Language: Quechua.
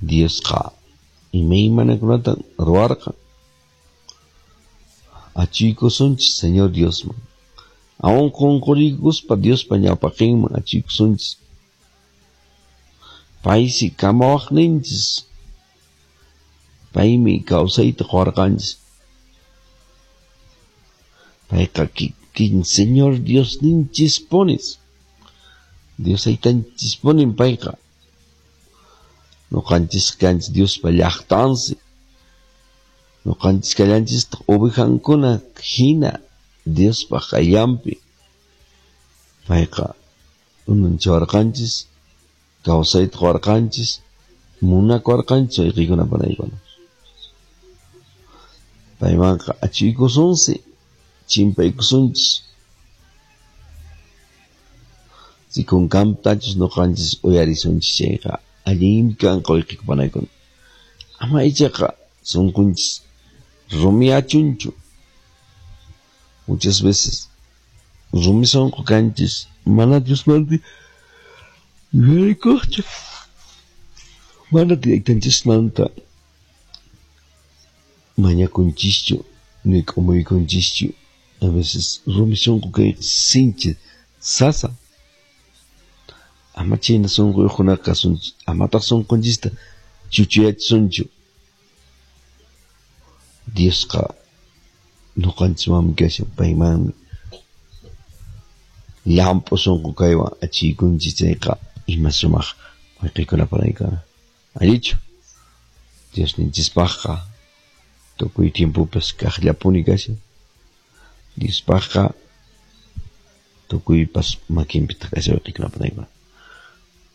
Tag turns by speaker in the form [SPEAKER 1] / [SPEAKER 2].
[SPEAKER 1] Diosqa imaymanakunatan ruwarqan. Achuykusunchis Señor Diosman. Aún qunquriykuspa Diospa ñawpaqinman achuykusunchis. Paysi kamawaqninchis. Paymi kawsayta quwarqanchis. Payqa kikin Señor Diosninchispunis. Dios aytanchispunin payqa. Nuqanchis kanchis Diospa llaqtansi. Nuqanchis kallanchistaq ovejankuna hina Diospa qayllanpi. Payqa unanchawarqanchis, kawsayta quwarqanchis, munakuwarqanchis wayqiykuna panaykuna. Paymanqa achuykusunsi, chimpaykusunchis. Sikunkamtachus nuqanchis uyarisunchis chayqa allinmi kanqa wayqiyku panaykuna. Ama ichaqa sunqunchis rumiyachunchu. Muchas veces rumi sunqu kanchis mana Diosmanta yuyarikuqchu. Mana taytanchismanta mañakunchischu ni k'umuykunchischu. A veces rumi sunqu kayqa sinchi sasa. Ama chayna sunquyuqkunaqa kasunchu, amataq sunqunchista chuchuyachisunchu. Diosqa nuqanchiswanmi kashan, paymanmi llamp'u sunqu kaywan achiykunchis chayqa ima sumaq wayqiykuna panaykuna. Allichu? Diosninchispaqqa tukuy tiempopas kaqllapuni kashan. Diospaqqa tukuypas makinpitaq kashan wayqiykuna panaykuna.